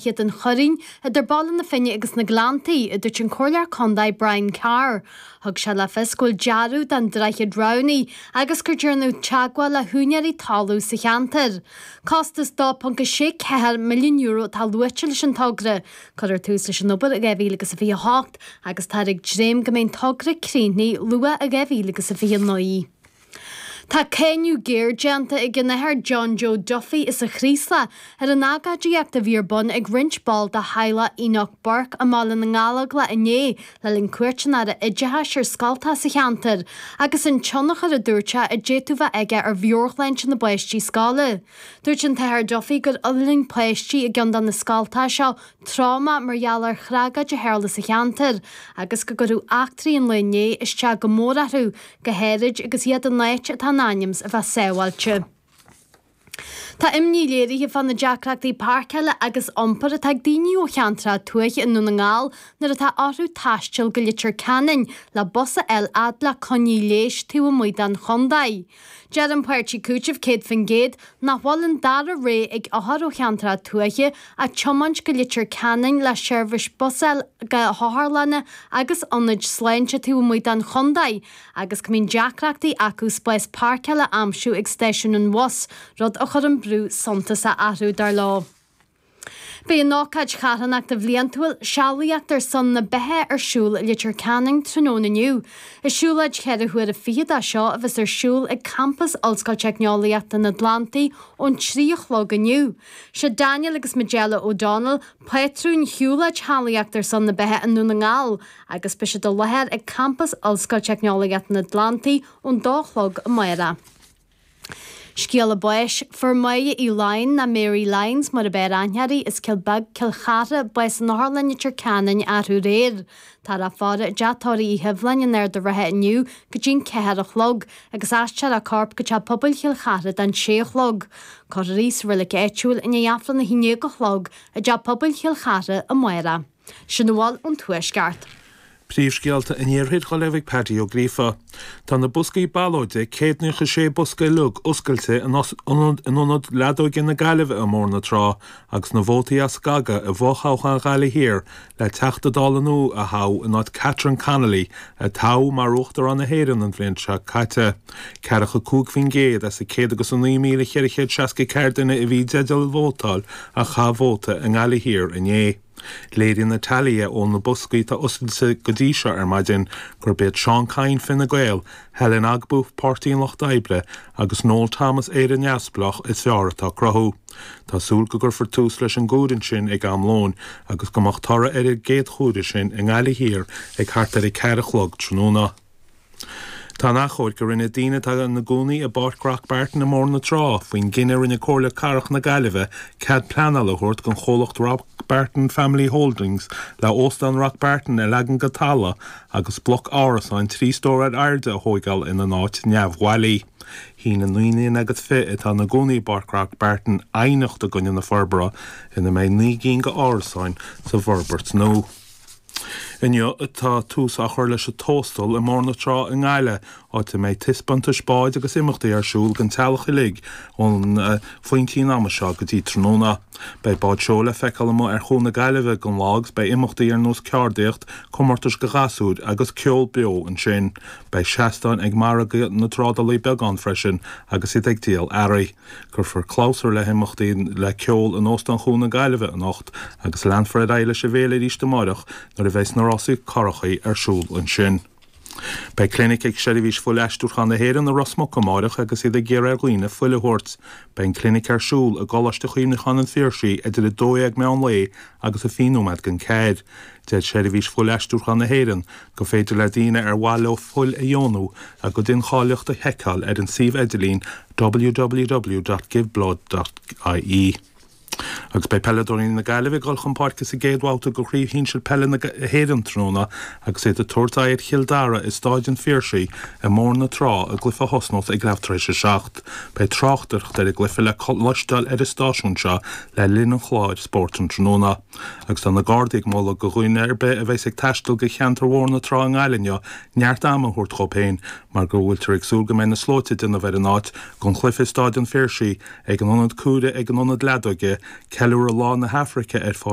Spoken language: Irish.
Droichead an Choirín, idir Baile na Finne agus na Gleanntaí, a dúirt an Comhairleoir Contae Brian Carr. Thug sé le fios go bhfuil dearadh don droichead roghnaithe agus gur déanadh teagmháil le húinéirí talún sa cheantar. Costas €2.64 milliún atá luaite leis an togra. Cuirfear tús leis an obair i 2028 agus táthar ag dréim go mbeidh an togra críochnaithe luath i 2029. Tá cáineadh géar déanta ag an Athair John Joe Duffy as an Chraoslach ar an agóidíocht a bhí ar bun ag roinnt ball de theaghlach Enoch Burke i mBaile na nGallóglach inné le linn cuairt an Aire Oideachais ar scoltacha sa cheantar agus an tionchar a dúirt sé a d'fhéadfadh bheith aige ar mheabhairshláinte na bpáistí scoile. Dúirt an tAthair Duffy gur fhulaing páistí i gceann de na scoltacha seo tráma mar gheall ar thragóid a tharla sa cheantar agus go gcuirfeadh eachtraí an lae inné isteach go mór orthu, go háirid agus iad in áit atá in ainm 's a bheith sábháilte. Tá imní léirithe fá na deacrachtaí páirceála agus iompair atá ag daoine ó cheantracha tuaithe i nDún na nGall nuair atá orthu taisteal go Leitir Ceanainn le bus a fháil fhad le coinní leighis taobh amuigh den chontae. Deir an páirtí Cúiteamh 100% nach bhfuil an dara rogha ag othair ó cheantracha tuaithe ach tiomáint go Leitir Ceanainn le seirbhís bus a fháil go hotharlanna agus ionaid sláinte taobh amuigh den chontae agus go mbíonn deacrachtaí acu spás páirceála a aimsiú ag stáisiún an bhus, rud a chuireann brú suntasach orthu, dar leo. Beidh an ócáid charthanachta bhliantúil, Sealaíocht ar son na Beatha ar siúl i Leitir Ceanainn tráthnóna inniu. Is siúlóid cheithre huaire fichead é seo a bheas ar siúl ag campas Ollscoil Teicneolaíochta na Atlantaí ón 3 a chlog inniu. Sé Daniel agus Majella O'Donnell pátrúin shiúlóid Shealaíocht ar son na Beatha i nDún na nGall agus beidh siad i láthair ag campas Ollscoil Teicneolaíochta na Atlantaí ón dó a chlog amárach. Scéala báis, Fuair Máire Uí Laighin, nó Mary Lyons mar ab fhearr aithne uirthi, as Cill Beag, Cill Chartha, bás in Otharlann Leitir Ceanainn arú aréir. Táthar á faire i dteach tórraimh Uí Shibhleáin in Ard a' Rátha inniu go dtí'n 4 a chlog agus aistreofar a corp go teach pobail Chill Chartha don 6 a chlog. Cuirfear í sa reilig áitiúil i ndiaidh Aifreann 11 a chlog i dteach pobail Chill Chartha amárach. Sin a bhfuil ón Tuaisceart. Príomhscéalta an Iarthair á léamh ag Paddy Ó Gríofa. Tá na boscaí ballóide, 196 bosca uilig, oscailte in Ionad Leadóige na Gaillimhe i mBóthar na Trá agus na vótaí á scagadh i bhfothoghchán Ghaillimh Thiar le Teachta Dála nua a thoghadh in áit Catherine Connolly a toghadh mar Uachtarán na hÉireann an bhliain seo caite. 45% as an 109,464 duine a bhí i dteideal vótáil a chaith vóta i nGaillimh Thiar inné. Léiríonn na tealaithe ó na boscaí atá oscailte go dtí seo ar maidin gurb iad Seán Kyne, Fine Gael, Helen Ogbu, Páirtí an Lucht Oibre, agus Noel Thomas, Éire Neamhspleách, is fearr atá ag cruthú. Tá súil go gcuirfear tús leis an gcomhaireamh sin ag am lóin agus go mbeadh toradh ar an gcéad chomhaireamh sin i nGaillimh Thiar ag thart ar 4 a chlog tráthnóna. Tá an achomhairc a rinne daoine atá ina gcónaí i bPáirc Rock Barton i mBóthar na Trá faoin gcinneadh a rinne Comhairle Cathrach na Gaillimhe cead pleanála a thabhairt don chomhlacht Rock Barton Family Holdings le Óstán Rock Barton a leagan go talamh agus bloc árasáin 3 stór ar airde a thóigeáil ina n-áit neamhbhailí. Shín na 19 nduine atá ina gcónaí i bPáirc Rock Barton aighneacht i gcoinne na forbartha ina mbeidh 9 gcinn d'árasáin sa bhforbairt nua. Inniu atá tús á chur leis an Tóstal i mBóthar na Trá i nGaillimh, áit a mbeidh taispeántais báid agus imeachtaí ar siúl don teaghlach uilig ón phointí an ama seo go dtí tráthnóna. Beidh báid seoil le feiceáil amuigh ar Chuan na Gaillimhe don lá agus beidh imeachtaí ar nós ceardaíocht, comórtais do ghasúir agus ceol beo ansin. Beidh seastáin ag margadh na dtrádálaí beag ann freisin agus iad ag díol earraí. Cuirfear clabhsúr le himeachtaí le ceol in Óstán Chuan na Gaillimhe anocht agus leanfar ar aghaidh leis an bhféile arís amáireach nuair a bheidhs na rásaí currachaí ar siúl ansin. Beidh clinic ag Seirbhís Fuil-Aistriúcháin na hÉireann i Ros Muc amáireach agus iad ag iarraidh ar dhaoine fuil a thabhairt. Beidh an clinic ar siúl i gColáiste Chuimhneacháin an Phiarsaigh idir 12 meán lae agus a 20 nóiméad don 4. Deir Seirbhís Fuil-Aistriúcháin na hÉireann gur féidir le daoine ar mhaith leo fuil a dheonú a gcuid incháilitheacht a sheiceáil ar an suíomh idirlín www.giveblood.ie. Agus beidh peileadóirí na Gaillimhe ag dul chun páirce sa gcéad bhabhta de Chraobh Shinsir Peile na hÉireann tráthnóna agus iad ag tabhairt aghaidh ar Chill Dara i Stáid an Phiarsaigh i mBóthar na Trá, i gcluiche a thosnós ag leath tar éis a 7. Beidh tráchtaireacht ar an gcluiche le cloisteáil ar an stáisiún seo le linn an chláir spóirt an tráthnóna. Agus tá na Gardaí ag moladh do dhuine ar bith a bheas ag taisteal go cheantar Bhóthar na Trá i nGaillimh inniu neart ama a thabhairt dhóibh féin mar go bhfuiltear ag súil go mbeidh na slóite ag déanamh ar an áit don chluiche i Stáid an Phiarsaigh, ag an Ionad Cuaire ag an Ionad Leadóige. Ceiliúradh Lá na hAfraice ar Pháirc.